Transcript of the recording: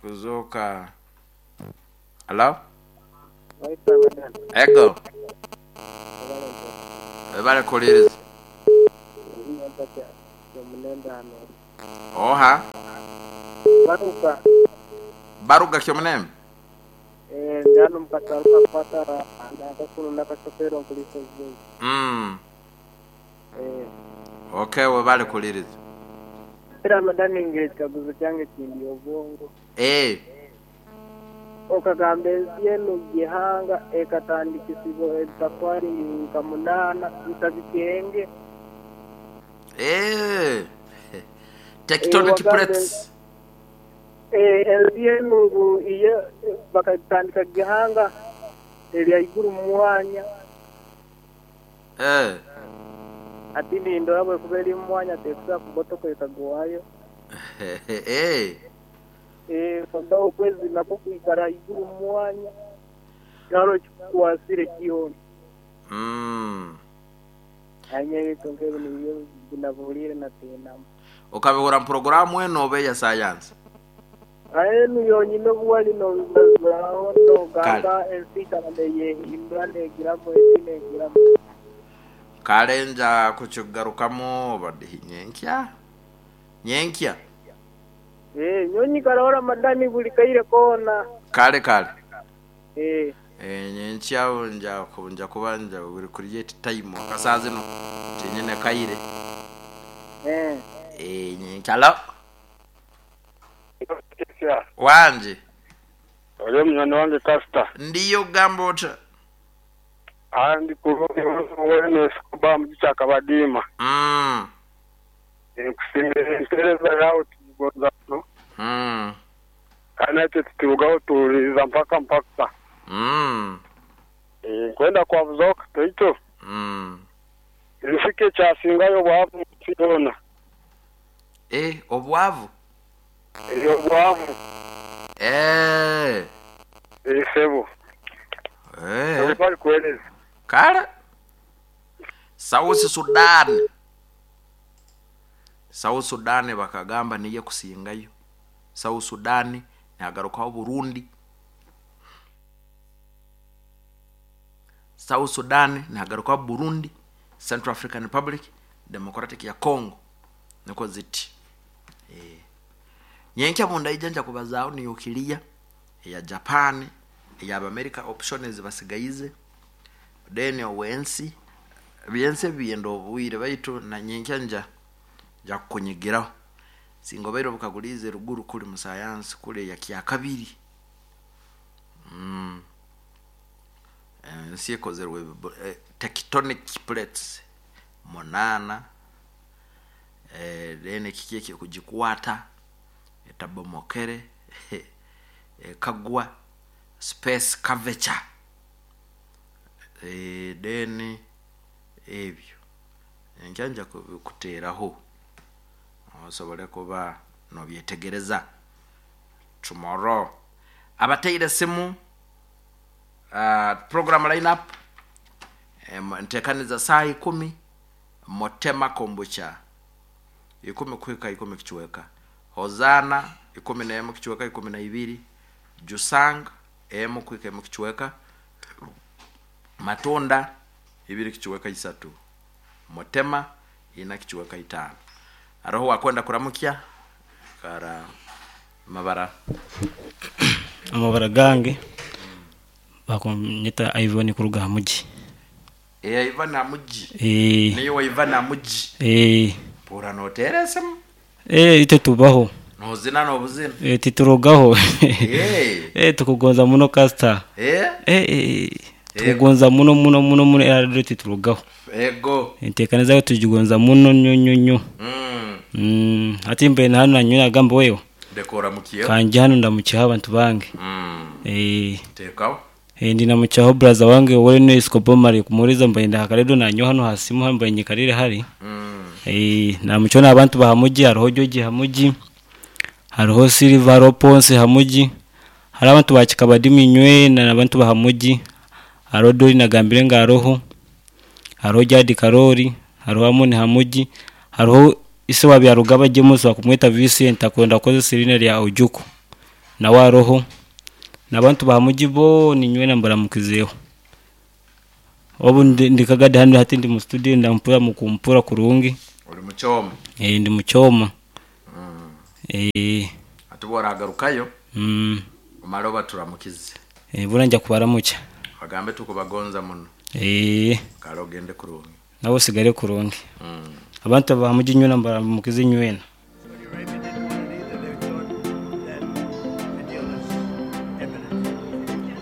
Kuzooka. Halo? Ego. Webale kuwuliriza. Oha? Baruga Kyomunembe? Mm. Okay, webale kuwuliriza. Eeh. Okagamba ensi enu gihanga ekatandikisibwa ebitafwali nka munana ntabikenge. Eeh. Tectonic plates. Ensi enu ngu iyo bakagitandika gihanga eri haiguru mu mwanya. Eeh. Hati nindora bwekuba eri mu mwanya tekusobola kubotoka ekagwayo. Eeh. Eeh, kwonka okwezi nakwo kwikara haiguru mu mwanya tihariho ekikukwasire kyona. Mm. Aye nyowe ebintu nk'ebyo nibyo binabuuriire natiinamu. Okabihura mu puroguraamu enu oba eya sayansi? Aye enu yonyini obu wali nobibazaaho Kale. nogamba ensi ikara neyehindura negiramu eti negiramu. Kale nja kukigarukamu oba dihi? Nyenkya? Nyenkya? Eeh, nyowe nyikaraho Ramadani buli kaire koona. Kale kale. Eeh. Eeh, nyenkya nja nja kuba nja will create time akasaa zino tinyine kaire. Eeh. Eeh, nyenkya. Halo? Wangi. Oli munywani wange Kasita. Ndiyo gamba ota? Aye ndi kulungi wene Escobar mu Kyakabadiima. Mm. Nkusiimira empeereza yaawe tugigonza muno. Mm. Kale naitwe titurugaho tuwuliriza mpaka mpaka. Mm. Nkwenda kwabuzaho katoito. Mm. Ensi ki ekyasingayo obwavu mu nsi yoona? Eh, obwavu? Eeh, obwavu. Eeh. Eeh sebo. Eeh. Webale kuwereza. Kale. South Sudan. South Sudan bakagamba niyo ekusingayo. South Sudan nihagarukaho Burundi. South Sudan nihagarukaho Burundi, Central African Republic, Democratic ya Congo. Nikwo ziti. Eeh. Nyenkya bundaija nja kubazaaho nuclear eya Japan, eya Abamerika option ezibasigaize, then ow'ensi, ebyensi ebi byenda obwire baitu na nyenkya nja nja kukunyigiraho. Singa obaire obukaguliize eruguru kuri mu sayansi kuri eya kyakabiri. Mm. Ensi ekozerwe tectonic plates munaana, then kiki ekirikugikwata etabomokere ekagwa space curvature then ebyo enkya nja kubikuteeraho osobole kuba nobyetegereza tomorrow. Abateire esimu program line up enteekaniza saaha ikumi Mutema Kombucha ikumi kuhika ikumi kicweka, Hozaana ikumi n'emu kicweka ikumi na ibiri, Jusang emu kuhika emu kicweka, Matunda ibiri kicweka isatu, Mutema ina kicweka itaano. Haroho owakwenda kuramukya? Kara amabara. Amabara gange bakunyeta Ivan kuruga ha muji. Eeh Ivan Amugi. Eeh. Niiwe Ivan Amugi. Eeh. Mpuura nooteera esimu. Eeh itwe tubaho. Noozina n'obuzina. Eeh titurugaho. Eeh. Eeh tukugonza muno kasita. Eeh. Eeh tukugonza muno muno muno muno era rero titurugaho. Ego. Enteekaniza yawe tugigonza muno nnyo nnyo nnyo. Mm. Hati mbaire na hanu nanyowe nagamba wewe. Leka oramukyeho. Kangye hanu ndamukyeho abantu bange. Mm. Eeh. Teekaho. Ndi namukyaho buraza wange owene Escobar mare kumuhuriza mbaire ndi aha karedio nanyowe hanu aha simu hanu mbaire nyikarire hari. Namukyaho n'abantu ba Hamugi hariho George Hamugi, hariho Silver hariho Ponsi Hamugi, hariho abantu ba Kikabadimu inywena n'abantu ba Hamugi, hariho Dori nagambire ngu aroho, hariho Jadi Karori, hariho Amoni Hamugi, hariho ise wa Byarugaba James bakumweta Vincent akwenda kukozesa eriina rya Ojuku. Nawe aroho. N'abantu ba muji boona inywena mbaramukizeeho. Obu ndi Kagadi hanu hati ndi mu studio ndampura mukumpura kurungi. Uli mukyoma. Ndi mukyoma. Ati bworagarukayo omale obaturamukize. Bura nja kubaramukya. Bagambe tukubagonza muno. Kale ogende kurungi. Nawe osigale kurungi. Abantu ba muji inywena mbaramukize inywena.